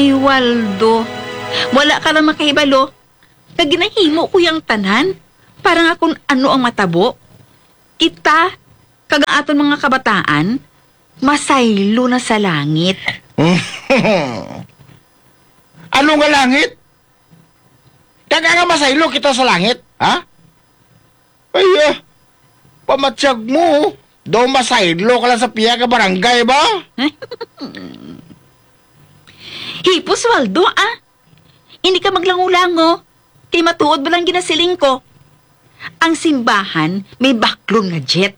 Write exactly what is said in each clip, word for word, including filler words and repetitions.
Ay, Waldo, wala ka lang makahibalo. Kag ginahimo ko yang tanan para nga kung ano ang matabo, kita kag ang aton mga kabataan masaylo na sa langit. Ano nga langit? Kag nga masaylo kita sa langit, ha? Ay, ah, pamatyag mo, daw masaylo ka lang sa piya ka barangay ba? Hipos, Waldo, ah. Hindi ka maglango-lango. Kay matuod ba lang ginasiling ko? Ang simbahan may baklon nga jet.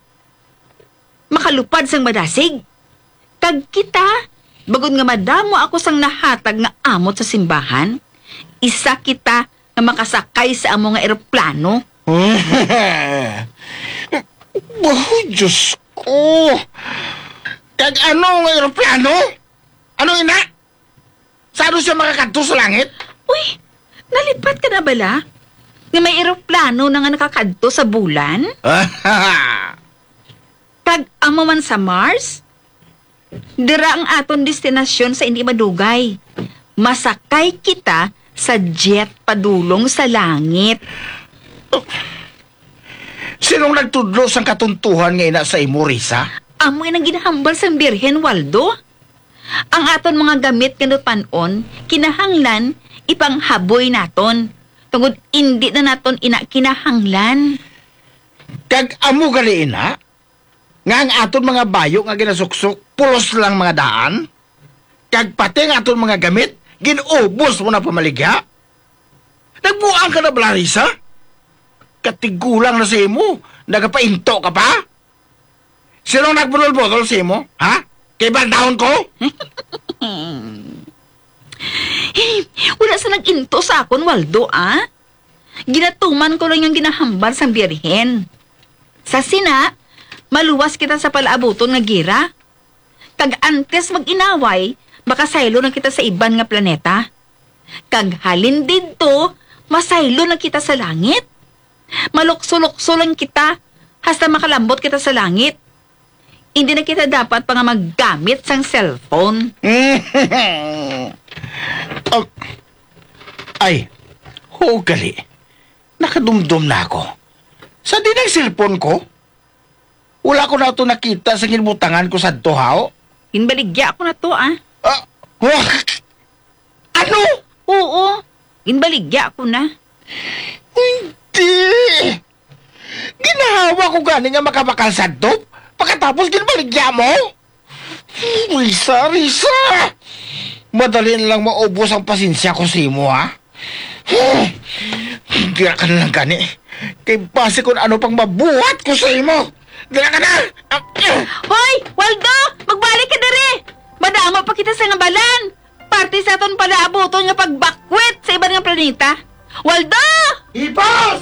Makalupad sang madasig. Kag kita, bagod nga madamo ako sang nahatag nga amot sa simbahan, isa kita nga makasakay sa amo nga eroplano. Oh, Diyos ko! Kag ano nga eroplano? Ano ina? Saan siya makakadto sa langit? Uy, nalipat ka na bala? Nga may eroplano na nga nakakadto sa bulan? Kag amo man sa Mars? Dira ang aton destinasyon sa hindi madugay. Masakay kita sa jet padulong sa langit. Sinong nagtudlo sang katuntuhan nga ina sa imo, Risa? Amo inang ginahambal sang Birhen, Waldo. Ang aton mga gamit nga nutan-on, kinahanglan ipanghaboy naton, tungod indi na naton ina kinahanglan. Kag amo gali ina, nga ang aton mga bayo nga ginasuksok, pulos lang mga daan, kag pati ang aton mga gamit, gin-ubos mo na pamaligya? Nagbuang ka na bala, Risa? Katigulang na sa imo, nagapainto ka pa? Sino ang nagbudol-budol sa imo, ha? Kay baldahon ko? Wala sa nag-into sa akon, Waldo, ah. Ginatuman ko lang ang ginahambal sang Birhen. Sa sina, maluwas kita sa palaabuton nga gira. Kag antes mag-inaway, makasaylo na kita sa iban nga planeta. Kag halin didto, masaylo na kita sa langit. Malukso-lukso lang kita, hasta makalambot kita sa langit. Hindi na kita dapat pa nga maggamit sang cellphone. Um, ay, huwag gali. Nakadumdom na ako. Sa di nang cellphone ko? Wala ko na ito nakita sa ginbutangan ko sa to, haw? Ginbaligya ko na to, ah. Ah, wah! Ano? Oo, ginbaligya ko na. Hindi! Ginahawa ko gani nga makabakal sa dop, pagkatapos ginbaligya mo? Risa, Risa! Madali na lang maubos ang pasensya ko sa imo, ha? Dira ka na lang gani. Kay basi kung ano pang mabuhat ko sa imo. Dira ka na! Ah, ah. Hoy! Waldo! Magbalik ka diri! Madamo pa kita sa nga balan! Parte sa aton palaabuton nga pagbakwit sa iban nga planeta! Waldo! Hipos!